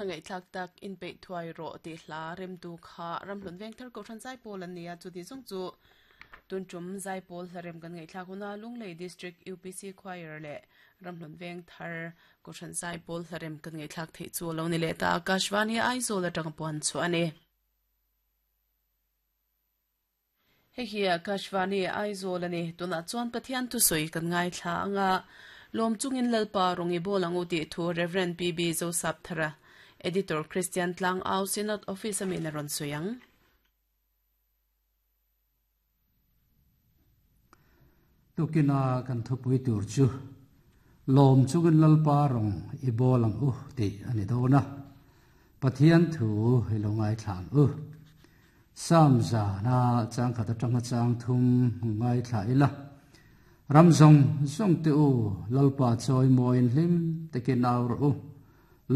hla ngaihthlak tak inpeih thuai rawh tih hla remtu kha Ramhlun Vengthar Kohhran Zaipawl an ni a, chuti zawng chu tun tum Zaipawl hla rem kan ngaihthlak huna Lunglei District UPC Choir leh Ramhlun Vengthar Kohhran Zaipawl hla rem kan ngaihthlak theih chu a lo ni leh ta. Akashvani Aizawl atanga puan chhuah a ni. Hei hi Akashvani Aizawl a ni. Tunah chuan Pathian thusawi kan ngaithla ang a, lawm chungin Lalpa rawn i bawl ang u tih thu Rev. PB Zosapthara, Editor Kristian Tlangau Synod Office a min a rawn sawi ang. Tukina kan thupui tur chu lawm chungin Lalpa rawn i bawl ang u tih a ni dawn a, Pathian thu i lo ngaithla ang u. Sam zana changkhat atanga chang thum ngaithla ila, Ram zawng zawng te u, Lalpa chawi mawiin hlim takin au rawh u.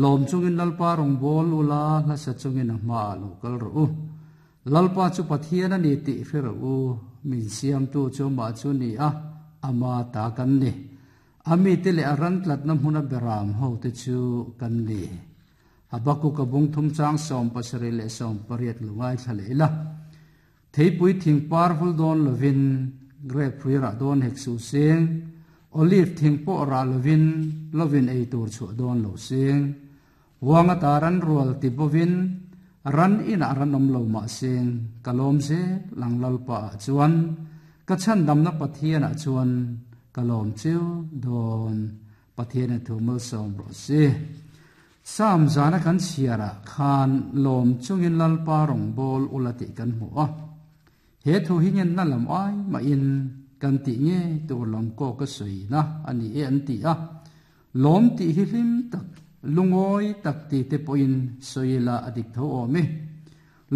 Lawm chungin Lalpa rawn bawl ula, hlasa chungin a hmaah lo kal rawh u. Lalpa chu Pathian a ni tih hre rawh u, min siamtu chu amah chu ni a, ama ta kan ni. A mite leh a ran tlatna hmuna beram hote chu kan ni. Habakkuk a bung thum chang 78 leh 80 lo ngaithla leh ila. Theipui thing par vul dawn lovin, grape hrui rah dawn hek suh seng, olive thing pawh rah lovin, lovin ei tur chhuah dawn lo seng. Huang ata ran rual ti bovin, ran inah ran awm lo mah seng, ka lawm zel ang Lalpa ah chuan, ka chhandamna Pathian ah chuan ka lawm chiu dawn. Pathian in thu malsawm rawh se. Psalm zana kan chhiarah khan lawm chungin Lalpa rawngbâwl ula tih kan hmu a. He thu hi ngenna lam ai mahin kan tih nge tur lam kawk a sawina a ni e an ti a. Lawm tih hi hlim tak, lungawi tak ti te pawhin sawi ila a dik tho awm e.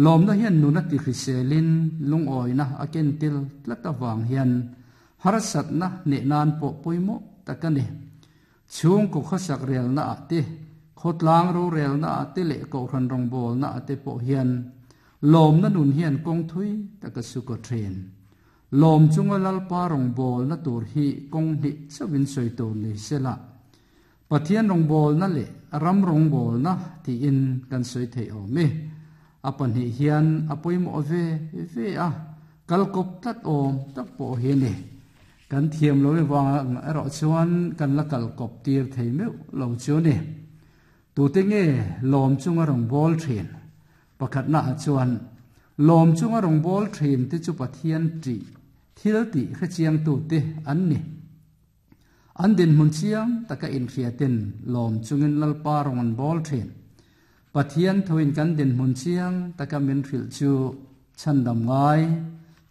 Lawmna hian nuna ti hriselin lungawina a ken tel tlat avang hian Harsatna hneh nan pawh pawimawh tak a ni. Chhungkaw khawsak relna ah te, khawtlang rorelna ah te leh kohhran rawngbawlna ah te pawh hian lawmna nun hian kawng thui tak a su kaw thin. Lawm chunga Lalpa rawngbawlna tur hi kawng hnih chauhin sawi tur ni sela, Pathian rawngbawlna leh ram rawngbawlna tiin kan sawi theih awm e. A pahnih hian a pawimawh ve ve a, kal kawp tlat awm tak pawh hi a ni. Kan thiam lo avang erawh chuan kan la kal kawp tir thei meuh lo chu a ni. Tute nge lawm chunga rawngbâwl thin? Pakhatnaah chuan lawm chunga rawngbâwl thin te chu Pathian ṭih thil tih hrechiangtute an ni. An dinhmun chiang taka inhriatin lawm chungin Lalpa rawn an bawl thin. Pathian thuin kan dinhmun chiang taka min hrilh chu chhandam ngai,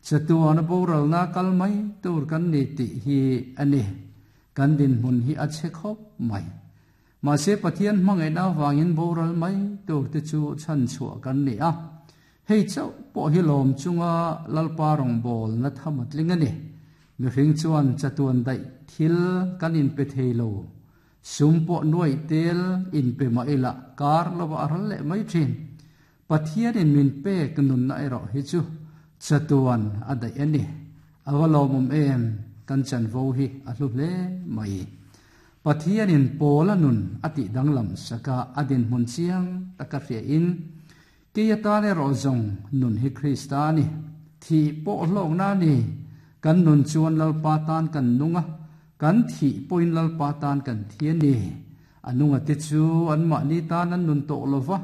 chatuana boralna kal mai tur kan ni tih hi a ni. Kan dinhmun hi a chhe khawp mai. Mahse Pathian hmangaihna avangin boral mai tur te chu chhanchhuah kan ni a. Hei chauh pawh hi lawm chunga Lalpa rawngbawlna tham a tling a ni. Mihring chuan chatuan daih thil kan inpe thei lo. Sum pawh nuaih tel inpe mah ila kar lova a ral leh mai thin. Pathianin min pek nunna erawh hi chu chatuan a daih a ni. A va lawmawm em, kan chanvo hi a hlu hle mai. Pathianin Paula nun a tih danglam saka a dinhmun chiang taka hriain, Kei atan erawh zawng nun hi Krista a ni. Thih pawh hlawkna a ni. Kan nun chuan Lalpa tan kan nung a, kan thih pawhin Lalpa tan kan thi a ni. A nunga te chu anmahni tan an nun tawh lo va.